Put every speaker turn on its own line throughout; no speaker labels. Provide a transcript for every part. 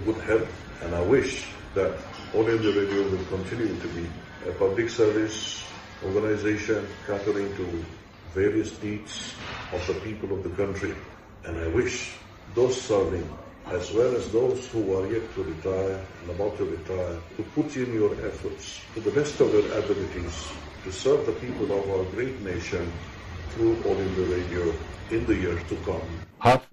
Good health and I wish that All India Radio will continue to be a public service organization catering to various needs of the people of the country and I wish those serving as well as those who are yet to retire and about to retire to put in your efforts to the best of your abilities to serve the people of our great nation through All India Radio in the years to come.
Half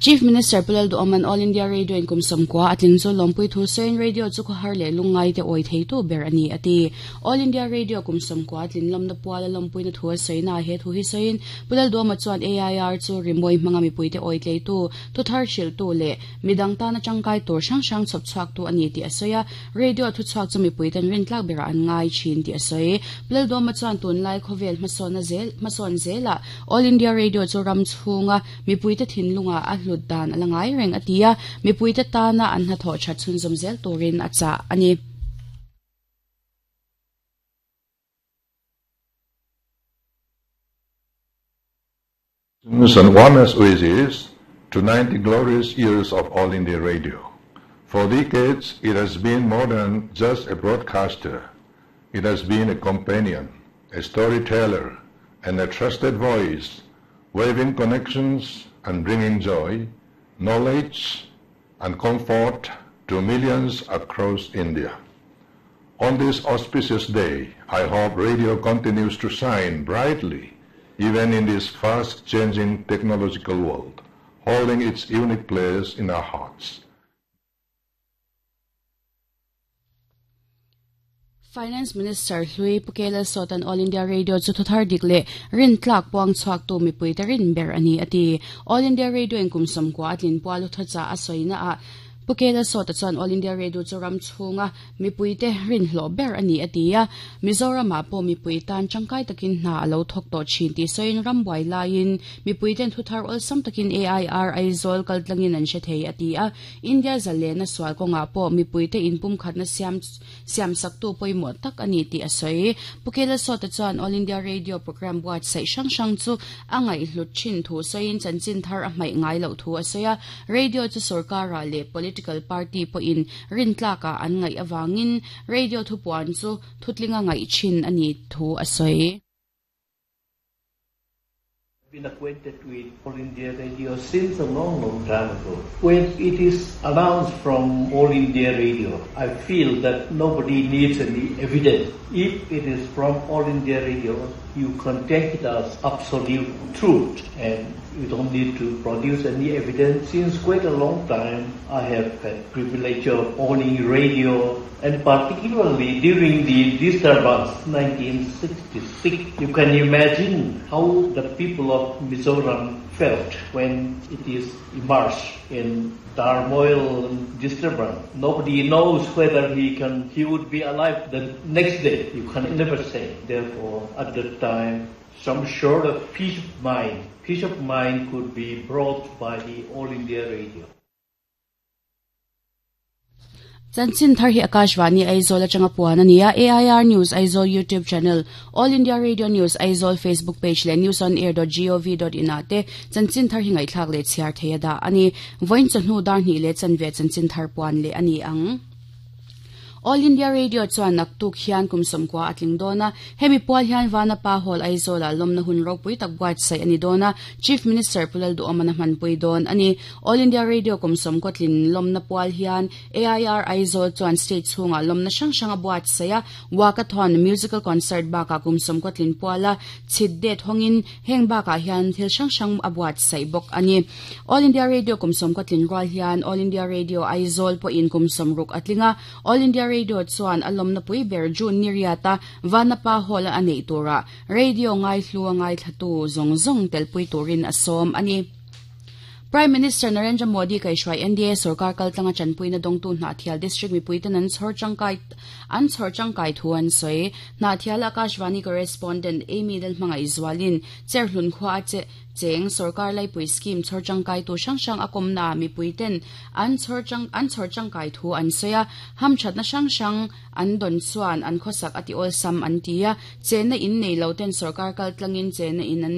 Chief Minister Pu Lalduhawma'n All India Radio in kum 90 a tling chu lawmpui thu sawiin radio chu khawhar leh lungngai te awi theitu ber a ni a ti. All India Radio kum 90 a tlin lawmna puala lawmpuina thu a sawina ah he thu hi sawiin Pu Lalduhawma chuan AIR chu rimawi hmanga mipuite awi tleitu, thuthar hrilhtu leh midang tana tangkai tur hrang hrang chhawp chhuaktu a ni tih a sawi a. Radio thuchhuak chu mipuiten rintlak berah an ngai thin tih a sawi. Lalduhawma chuan tunlai khawvel hmasawnna zel hmasawn zelah All India Radio chu ram chhunga mipuite thinlungah a hlut dan a la ngai reng a ti a, mipuite tana an hnathawh that chhunzawm zel turin a chah a ni.
And warmest wishes to 90 glorious years of All India Radio. For decades, it has been more than just a broadcaster. It has been a companion, a storyteller, and a trusted voice, waving connections and bringing joy, knowledge, and comfort to millions across India. On this auspicious day, I hope radio continues to shine brightly even in this fast-changing technological world, holding its unique place in our hearts.
Finance Minister hlui Pu K Lalsawta'n All India Radio chu thuthar dik leh rintlak puang chhuaktu mipuite rin ber a ni a ti. All India Radio in kum 90 a tlin pual thuthachah a sawina ah Pu K Lalsawta chuan All India Radio chu ram chhunga Mipuite rinhlawh ber a ni a ti a, Mizoramah pawh mipui tan tangkai takin hna a lo thawk tawh thin tih sawiin rambuai laiin mipuiten thuthar awlsam takin AIR Aizawl kaltlangin an hre thei a ti a, India zalena sual kawngah pawh mipuite inpumkhatna siam siamsaktu pawimawh tak a ni tih a sawi. Pu Kelasawta chuan All India Radio programme buatsaih hrang hrang chu a ngaihhlut thin thu sawiin chanchin thar a hmaih ngai loh thu a sawi a, radio chu sorkarah leh political party pawhin Rintlakah an ngaih avangin radio thupuan chu thutlinga ngaih thin a ni thu a sawi.
Been acquainted with All India Radio since a long, long time ago. When it is announced from All India Radio, I feel that nobody needs any evidence. If it is from All India Radio, you can take it as absolute truth and you don't need to produce any evidence. Since quite a long time, I have had privilege of owning radio and particularly during the disturbance 1966. You can imagine how the people of Mizoram felt when it is immersed in turmoil and disturbance. Nobody knows whether he can he would be alive the next day. You can never say. Therefore, at that time, some sort of peace of mind, peace of mind could be brought by the All India Radio.
Chanchin thar hi Akashvani Aizawl atanga puan a ni a, AIR News Aizawl YouTube channel, All India Radio News Aizawl Facebook page leh newsonair.gov.in ah te chanchin thar hi ngaihthlak leh chhiar thei a dah a ni. Vawiin chawhnu dar hnih leh chanve chanchin thar puan leh a ni ang. All India Radio chuan naktuk hian kum 90 a tling dawn a, hemi pual hian Vanapa Hall Aizawlah lawmna hun ropui tak buatsaih a ni dawn a, Chief Minister Pu Lalduhawmana hmanpui dawn a ni. All India Radio kum 90 tlin lawmna pual hian AIR Aizawl chuan state chhungah lawmna hrang hrang a buatsaih a, Walkathon, Musical Concert bakah kum 90 tlin puala chhit det hawngin heng bakah hian thil hrang hrang a buatsaih bawk a ni. All India Radio kum 90 tlin rual hian All India Radio Aizawl pawhin kum 60 a tling a, All India Radio chuan a lawmna pui ber June ni riata Vanapa Hall-a a neih turah radio ngaihlu a ngaithlatu zawng zawng telpui turin a sawm a ni. Prime Minister Narendra Modi kaihhruai NDA sorkar kaltlanga tanpuina dawngtu Hnahthial District mipuiten an chhawr tangkai an chhawr tangkai thu an sawi. Hnahthial Akashvani Correspondent Amy Lalhmangaihzualin Cherhlun khua a che cheng sorkar laipui scheme chhawr tangkaitu hrang hrang a kawmnaah mipuiten an chhawr tang an chhawr tangkai thu an sawi a, hamthatna hrang hrang an dawn chuan an khawsak a ti awlsam an ti a, chenna in nei lo ten sorkar kaltlangin chenna in an nei.